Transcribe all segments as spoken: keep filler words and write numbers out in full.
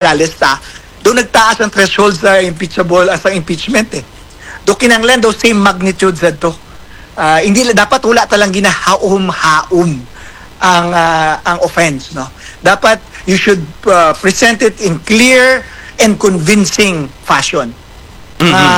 Morales ta, do nagtaas ang threshold sa impeachable, ah, sa impeachment eh. Do kinahanglan do same magnitude sad to. Ah, hindi la-, dapat wala ta lang ginahaom-haom ang, ah, ang offense, no? Dapat you should, ah, present it in clear and convincing fashion. Mhm. Nga,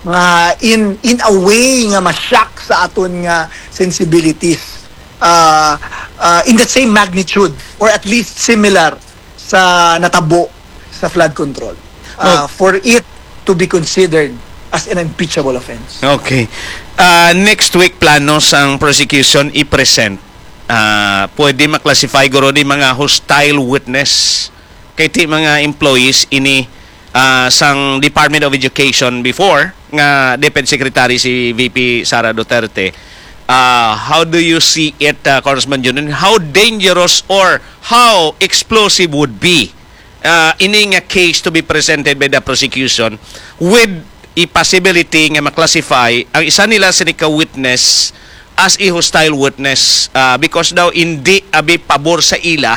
nga in, in a way nga ma-shock sa aton nga sensibilities, ah, ah, in the same magnitude or at least similar sa natabo sa flood control, ah, Oh. for it to be considered as an impeachable offense. Okay. Ah, next week, plano sang prosecution i-present. Ah, pwede ma-classify guro ni mga hostile witness. Kay ti mga employees ini, ah, sang Department of Education before, nga DepEd Secretary si V P Sara Duterte. Ah, how do you see it, ah, Congressman Junjun? How dangerous or how explosive would be, ah, ini nga case to be presented by the prosecution with a possibility nga ma-classify ang isa nila sini ka witness as a hostile witness, ah, because daw hindi abi pabor sa ila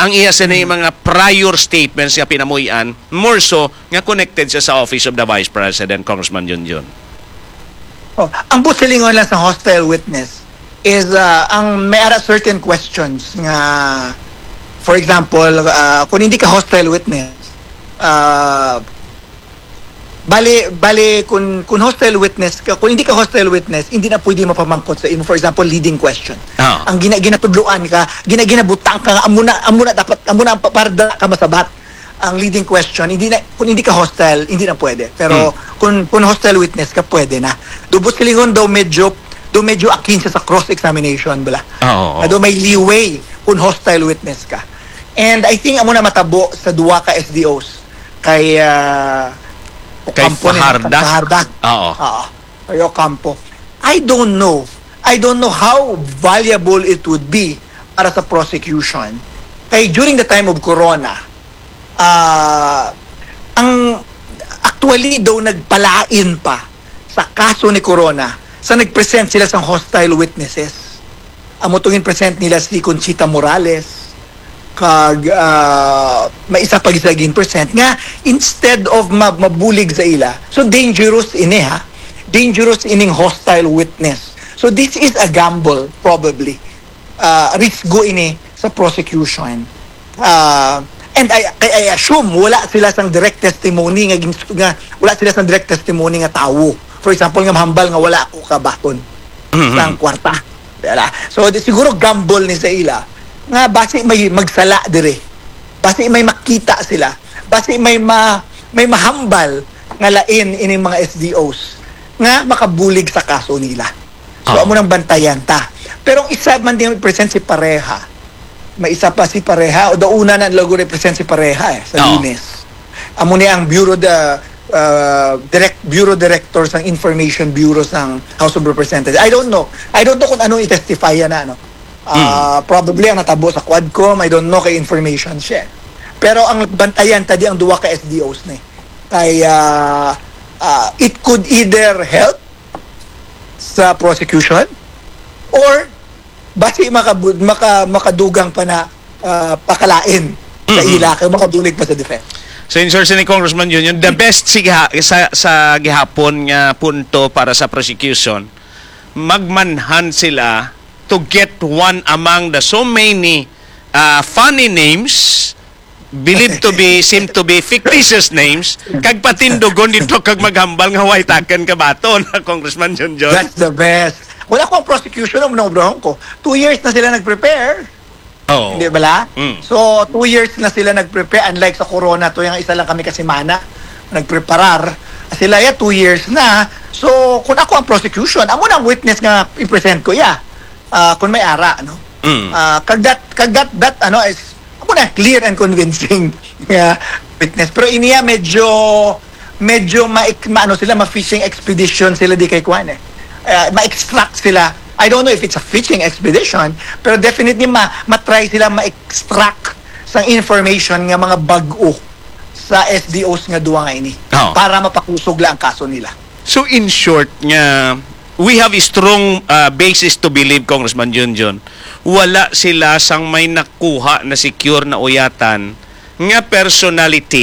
ang iya sini mga prior statements nga pinamuy-an, more so nga connected siya sa Office of the Vice President, Congressman Junjun? Oh, ang busilingon lang sa hostile witness is, ah, ang may ara certain questions nga, for example, ah, kung hindi ka hostile witness, ah, bali, bali, kung, kung hostile witness ka, kung hindi ka hostile witness, hindi na pwede mapamangkot sa imo, for example, leading question. Ah. Ang gina-, ginatudloan ka, gina-, ginabutang ka, nga amo na, amo na dapat, amo na ang pa-, para dala ka masabat. Ang leading question, hindi na, kung hindi ka hostile, hindi na pwede. Pero Hmm. kung, kung hostile witness ka, pwede na. Do busilingon daw medyo, do medyo akin siya sa cross-examination, bala. Ah, oo. Nga do may leeway kung hostile witness ka. And I think amo na matabo sa duha ka S D Os. Kay, ah, Kay Ocampo ni, Fajarda? Fajarda. Oo. Oo. Kay Ocampo. I don't know. I don't know how valuable it would be para sa prosecution. Kay during the time of Corona, ah, ang actually daw nagpalain pa sa kaso ni Corona sa nag-present sila sang hostile witnesses. Amo tong gin-present nila si Conchita Morales, kag, ah, may isa pa gid sila gin-present nga instead of ma-, mabulig sa ila. So dangerous ini, ha. Dangerous ining hostile witness. So this is a gamble probably. Ah, risgo ini sa prosecution. Ah, and I, I, I assume wala sila sang direct testimony nga gin-, nga wala sila sang direct testimony nga tawo. For example, nga mahambal nga wala ako kabaton Mhm. sang kwarta. Dala. So, di, siguro gamble ni sa ila nga basi may magsala dire. Basi may makita sila. Basi may ma-, may mahambal nga lain ining mga S D Os nga makabulig sa kaso nila. So, Oo. amo nang bantayan ta. Pero ang isa man din present si Pareha. May isa pa si Pareha. O, dauna na lago represent si Pareha eh, sa Oo. Lunes. Amo ni ang Bureau de, uh, direct, Bureau Director sang Information Bureau sang House of Representatives. I don't know. I don't know kung ano i-testify na, no? Ah, Hmm. Probably ang natabo sa Quadcom, I don't know kay information siya. Pero ang bantayan ta di ang duha ka S D Os ni. Kay, ah, ah, it could either help sa prosecution or basi makabu-, maka-, makadugang pa na, ah, pakalain sa Mhm. ila kay makabulig pa sa defense. So, in short, ni Congressman Junjun, the best siga-, sa, sa gihapon nga punto para sa prosecution, magmanhan sila to get one among the so many, ah, funny names, believed to be, seem to be fictitious names, kag patindugon dito kag maghambal nga way taken kabaton, Congressman Junjun. That's the best. Wala ko ang prosecution, ang naobrahon ko. Two years na sila nag-prepare. Oo. Hindi bala? Mm. So, two years na sila nag-prepare. Unlike sa corona, to yung isa lang kami kasimana nagpreparar. Sila ya, two years na. So, kung ako ang prosecution, amo na ang witness nga i-present ko, ya. Ah, kung may ara, no? Mm. Ah, kag that, kag that, that, ano, is, amo na, clear and convincing nga witness. Pero iniya, medyo, medyo ma-, ma-, ano sila, ma-fishing expedition sila di kay kwan eh. Ah, ma-extract sila. I don't know if it's a fishing expedition, pero definitely ma-, ma-try sila ma-extract sang information nga mga bag-o sa S D Os nga duwa nga ini Oo. para mapakusog la ang kaso nila. So, in short, nga, we have a strong, ah, basis to believe, Congressman Junjun, wala sila sang may nakuha na secure na uyatan nga personality